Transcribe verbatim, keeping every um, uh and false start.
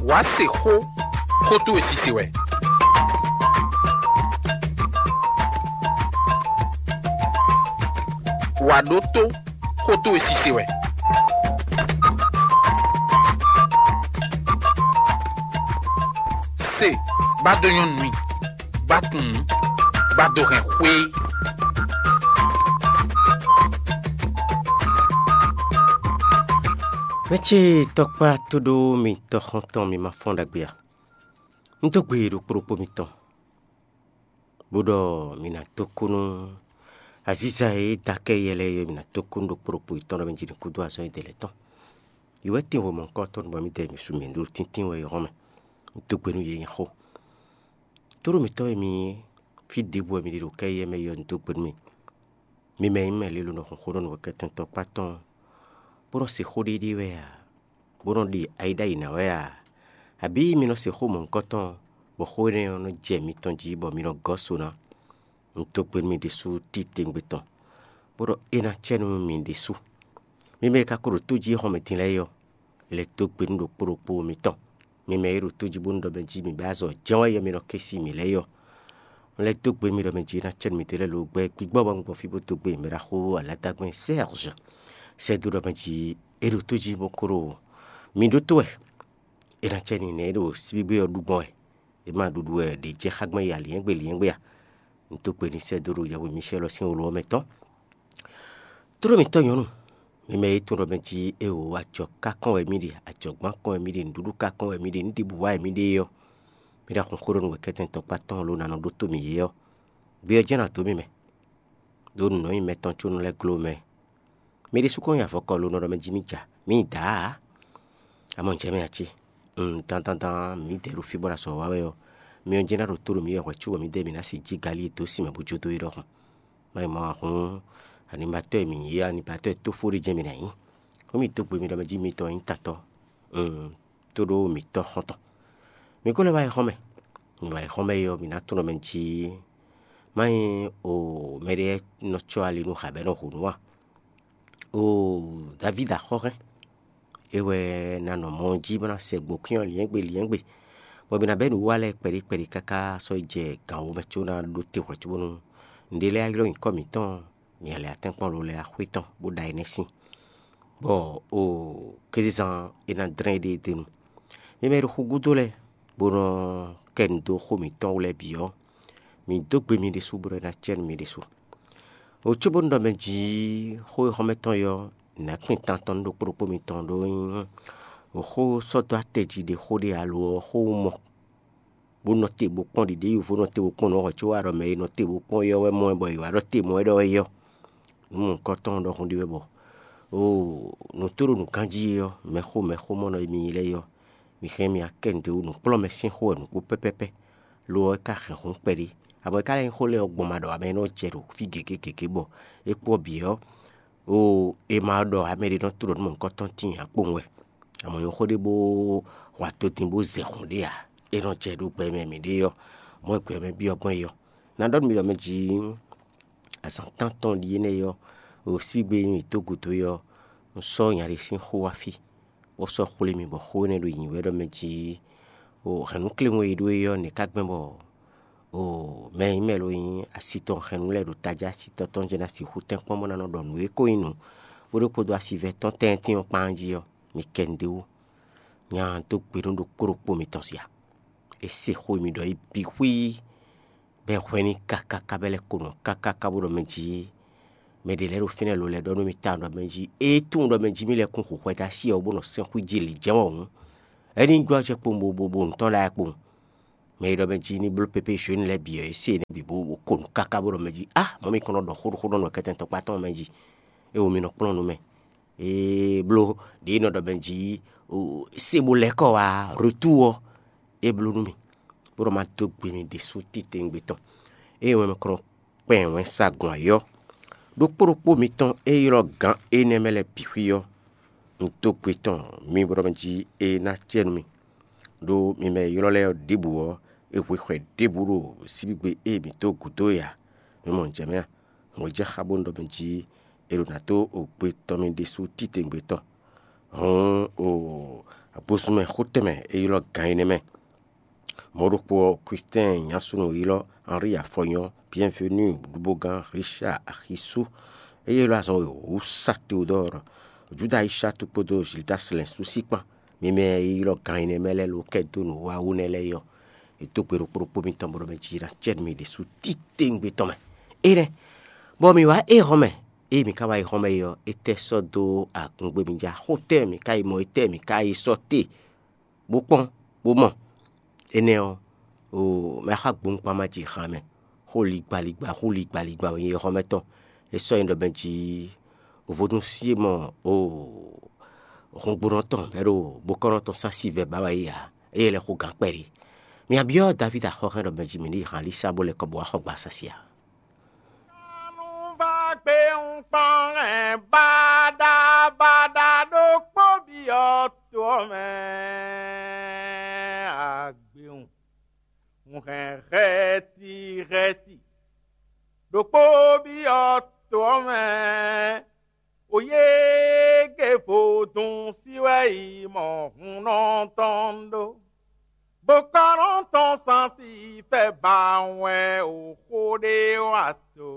Wǎ se xó, xó towe sise wɛ. Wǎ ɖótó, xó towe sise wɛ. Se, bá dó nyɔ́ nú mì, bá tunwun, bá dó hɛn xwé. Mɛ ce tɔkpá tóɖó mi tɔxɔntɔn mi ma fɔ́n ɖagbe a? Un dó gbe ɖokpó ɖokpó mitɔn, bó ɖɔ mi ná dó kú nú aziza e da kɛ yɛ lɛ́ɛ é, mi ná dó kú nú ɖokpó ɖokpó yětɔn ɖɔ mɛ jí ní kúdó azɔn e dɛ lɛ́ɛ tɔn. Yi wɛ tín hwe mɔ̌hunkɔtɔn bɔ mǐdɛɛ mi su mǐ ɖo tíntín wɛ é hɔn mɛ. Un dó gbe nú yě nyí xó. Tóɖó mǐtɔn e mi nyí, fí ɖěbǔ wɛ mi ɖe ɖo kɛ yɛ mɛ é ɔ́, un dó gbe nú mi. Mi mɛ e nyí mɛ lilo nɔ hun xó nɔ nǔkɛntɔ́ kpá tɔn, bó nɔ se xó ɖéɖéé wɛ a? Bó nɔ ɖe ayi ɖ'ayǐ ná wɛ a? Abǐ mi nɔ se xó mɔ̌hunkɔtɔn, bɔ xó énɛ́ ɔ́ nɔ jɛ mitɔn jí, bɔ mi nɔ gɔ́ so ná? Un dó gbe nú mi ɖésú titewungbe tɔn, bó ɖɔ é ná cɛ nú mi ɖésú. Mi mɛ e ka ko ɖo tó jí xɔmɛ din lɛ́ɛ é ɔ́, lɛ́ dó gbe nú ɖokpó ɖokpó mitɔn. Mi mɛ e ɖo tó jí bónú ɖɔ mɛ jí mi bɛ́ azɔ̌ jɛ́n wɛ yɔ mi nɔ kɛ́n sí mǐ lɛ́ɛ é ɔ́, un lɛ́ dó gbe nú mi ɖɔ mɛ jí é ná cɛ nú mi ɖě lɛ́ɛ lǒ gbɛ gbígbɔ bɔ un gbɔn fí bó dó gbe mɛ ɖaxó Aladagbe Sɛ́ɛzɔ sɛ́ dó ɖɔ mɛ jí é ɖo tó jí bó ko ɖo mi ɖótó wɛ. É ná cɛ n'i nɛ̌ é ɖo síbígbé ɔ́ ɖu gbɔn wɛ? É ma ɖuɖu wɛ ɖě jɛ xá gbɔn yi aliɛ́ngbé liɛ́ngbé a? Un dó gbe n'i sɛ́ dó ɖo yɛhwe Micɛ́l ɔ́ sín wló ɔ́ mɛ tɔn. Tóɖó mǐtɔn nyɔ̌nu, mi mɛ e tunwun ɖɔ mɛ jí éeǒ, ajɔ ká kɔn wɛ mì ɖe, ajɔ̌gbán kɔn wɛ mì ɖe, nǔɖuɖu ká kɔn wɛ mì ɖe, nǔ ɖěbǔ wa wɛ mì ɖe é ɔ́, mi ɖo axɔn xó ɖɔ nú wɛ̌kɛ́tɛ́ntɔ́kpá tɔn ló ná nɔ ɖótó mì é ɔ́, gbé ɔ́ jɛ́n ná dó mì mɛ, ɖó nǔ nɔ nyí mɛtɔn có nɔ lɛ́ gló mɛ. Mi ɖésú kɔn nyi avɔkɔ lo nɔ ɖɔ mɛ jí mì ja, mì nyi dǎ ǎ. Amɔ̌ jɛ mɛ ǎ ce. Un dandandan mǐdɛɛ ɖo fí bɔ ɖo azɔ̌ wa wɛ ɔ́, mi ɔ́ jɛ́n ná ɖo tó ɖo mǐ wɛ hwɛ̌ cóbɔ mǐdɛɛ mǐ ná sixú jí galí e dó sin mɛ bó jó dó é ɖɔhun. Má nyí mɔ ahún, animatɔ́ e mǐ nyí é, animatɔ́ e tófó ɖé jɛ́n mǐ ná nyí. Xó mì dó gbe mi ɖɔ mɛ jí mitɔn nyí tatɔ́, un, tóɖó mǐtɔ́ xɔ́ntɔn. Mi ko lɛ́ wá yi xɔ́n mɛ. Mi wá yi xɔ́n mɛ é ɔ́, mǐ ná tunwun ɖɔ mɛ jí má nyí o mɛɖé nɔ cɔ́ ali nú xǎbɛ́nɔ hǔnú a? Oo, Davídi axɔ́hɛn, é wɛ ná nɔ mɔ jí bó ná sɛ gbǒkwín ɔ́ liɛ́ngbé liɛ́ngbé, bɔ mi ná bɛ́ nǔwiwa lɛ́ɛ kpɛɖé kpɛɖé káká sɔ́ yi jɛ gǎn wú mɛ có ná ɖó te hwɛ̌ cóbónú nǔɖé lɛ́ɛ ylɔ́ nyǐkɔ mǐtɔn, mi lɛ́ atɛ́nkpɔ́n lo lɛ́ɛ axwé tɔn bó ɖa énɛ́ sín, bɔ oo, kézezán é ná dlɛ́n éɖée d'é nu. Mi mɛ e ɖo xu gúdo lɛ́ɛ, bó nɔ kɛ nu dó xó mǐtɔn wú lɛ́ɛ bǐ ɔ́, mi dó gbe mi ɖésú bó nɔ ná cɛ nú mi ɖésú. O cóbónú ɖɔ mɛ jǐ xó e xɔ́mɛ tɔn ɔ́, nǎkpin tantɔn nú ɖokpó ɖokpó mitɔn ɖó nyí xó sɔ́ dó atɛ jí ɖe xó ɖé alo ɔ́ xó wú mɔ, bó nɔ te bó kpɔ́n ɖiɖě yovo nɔ te bó kpɔ́n nǔ ɔ́ hwɛ̌ có wá ɖɔ mɛ e nɔ te bó kpɔ́n é ɔ́ wɛ mɔ ɛ bɔ è wǎ ɖɔ te mɔ ɛ ɖɔ wɛ yɔ. Nǔ mɔ̌hunkɔtɔn ɔ́ ɖɔhun ɖé wɛ bɔ oo, nǔ tó ɖo nǔ ganjí é ɔ́, mɛxó mɛxó mɔ nɔ e mi nyí lɛ́ɛ é ɔ́, mi hɛn mi akɛ́ nǔɖé wú nǔkplɔ́nmɛ sín xó wɛ nǔ kpó pɛ́pɛ́pɛ́, lo ɔ́ é ka hɛn hǔn kpɛɖé. Abɔ é ka lɛ́ nyí xó lɛ́ɛ ɔ́ gbɔn ma ɖɔ ǎ mɛ e nɔ jɛ ɖo fí gěgé gěgé bɔ é kpó ɔ́ bǐ ɔ́, oo, è ma ɖɔ ǎ mɛ ɖé nɔ tló ɖɔ nú mɔ̌hunkɔtɔn tíin ǎ kpowun wɛ. Amɔ̌ nyɔ̌ xó ɖé bó hwa to din bó zɛ hǔn ɖé ǎ. È nɔ jɛ ɖo gbɛ mɛ mǐɖée ɔ́, mɔ̌ e gbɛ mɛ byɔ́ gbɔn é ɔ́. Ná ɖɔ nú mi ɖɔ mɛ jí azǎn tántɔn ɖíe nɛ́ ɔ́, ɖo síbígbe e mǐ dó gǔdo é ɔ́, un sɔ́ nya ɖé sín xó wá fí, bó sɔ́ xwlé mi bɔ xó énɛ́ ɖo nyi wɛ ɖɔ mɛ jí, o hɛ̌nnúkléwún e ɖó é ɔ́, nɛ̌ ka gbɛn bɔ o mɛ e nyí mɛ lo nyí asi tɔn hɛn nǔ lɛ́ɛ ɖo tají asi tɔn tɔn jɛ ná sixú tɛ́nkpɔ́n bó ná nɔ ɖɔ nǔ e ko nyí nǔ bó ɖó kpódó asivɛ tɔn tɛ́ntin ɔ́ kpán jí ɔ́, mi kɛ nu d'é wú. Nya dó gbe nú ɖokpó ɖokpó mitɔn sia. È se xó e mi ɖɔ é bǐ xwíí, bɔ è hwɛ́n n'i káká káká bɔ é lɛ́ ko nɔ káká ká bó ɖɔ mɛ jí mɛ ɖě lɛ́ɛ ɖo fínɛ́ lo lɛ́ɛ ɖɔ nú mì tawun ɖɔ mɛ jí é tunwun ɖɔ mɛ jí mì lɛ́ kún xo xwɛ dó así ɔ́ bó nɔ sɛ́n xwí jí lǐjɛ́n wɛ hǔn, é ní gbɔ́ acɛ kpowun bo bo bo nǔ tɔn lɛ́ɛ kpowun. Mɛ e ɖɔ mɛ jí ní bló pépé zhǒnu lɛ́ɛ bǐ ɔ́, é se énɛ́ bǐ bó bó ko nǔ káká bó ɖɔ mɛ jí á, mɔ̌ mi kɔn nɔ ɖɔ xó ɖo xó nɔ nɔ kɛtɛn tɔkpá tɔn mɛ jí, é wo mi nɔ kplɔ́n nú mɛ. É bló ɖě nɔ ɖɔ mɛ jí se bó lɛ́ kɔ wá retour ɔ́, é bló nú mì, bó ɖɔ ma dó gbe mi ɖésú titewungbe tɔn. Ée wɛn mɛ kɔn nɔ kpɛn wɛnsagun ayɔ́ ɖokpó ɖokpó mitɔn e ylɔ́ gǎn énɛ́ mɛ lɛ́ɛ bǐ xwí ɔ́, un dó gbe tɔn mi bó ɖɔ mɛ jí é ná acɛ nú mì. Ɖó mi mɛ e ylɔ́ lɛ́ɛ ɔ́ ɖěbǔ ɔ́, è hwe xwɛ ɖěbǔ ɖo síbígbe e mǐ dó gǔdo é ǎ. Mi mɔ nǔ jɛ mɛ a? Hwɛ̌ jɛ xá bónú ɖɔ mɛ jí è ɖo nǎ dó gbe tɔn mi ɖésú titewungbe tɔn. Hǔn, o Agbozunmɛ xó tɛnmɛ e ylɔ́ gan énɛ́ mɛ. Mɔ̌ ɖokpó ɔ́, Christɛn nyasúnɔ e ylɔ́ Henri Afɔnyɔ́, Bienvenu Ɖubogan, Richard Axisú, e ylɔ́ azɔn wěwú sá Teodɔ́ɔ, Juda Ayisatu kpódó Zildas lɛ̌nsu sí kpán, mi mɛ e ylɔ́ gan énɛ́ mɛ lɛ́ɛ ló kɛ dó nǔwiwa wú nɛ́ lɛ́ɛ é ɔ́, è dó gbe ɖokpó ɖokpó mitɔn bó ɖɔ mɛ jí ná cɛ nú mi ɖésú titewungbe tɔn mɛ. Énɛ́, bɔ mǐ wá éhɔ́n mɛ. Ée mǐ ka wá éhɔ́n mɛ é ɔ́, étɛ́ sɔ́ dó agun gbé mǐ ja? Xó tɛ́ mǐ ka yi mɔ? Étɛ́ mǐ ka yi sɔ́ te, bó kpɔ́n, bó mɔ? Énɛ́ ɔ́, oo, mɛ xá gbɔn kpán ma ji han mɛ. Xó ligbaligba, xó ligbaligba wɛ nyí éhɔ́mɛtɔn. É sɔ́ nyí ɖɔ mɛ jí vodúnsi e mɔ oo, hɔngbónɔ tɔn bɔ é ɖo bokɔ́nɔ tɔn sá si vɛ ba wɛ é ǎ. Ée lɛ́ xó gǎn kpɛɖé. Mǐ byɔ́ Davídi axɔ́hɛn ɖɔ mɛ jí mǐ ní yi han Alísa bó lɛ́ kɔ bó wá xɔ gba sasi ǎ. Nú va gbé ń kpɔ́n hɛn baɖabaɖa ɖokpó byɔ́ to ɔ́ mɛ agbewun. Un hɛn hɛ̌ti hɛ̌ti ɖokpó byɔ́ to ɔ́ mɛ. Oyége vodún sí wɛ yi mɔ hunnɔ tɔn ɖó. Bokɔ́nɔ tɔn sansi fɛ ba wɛ o xó ɖé wa to.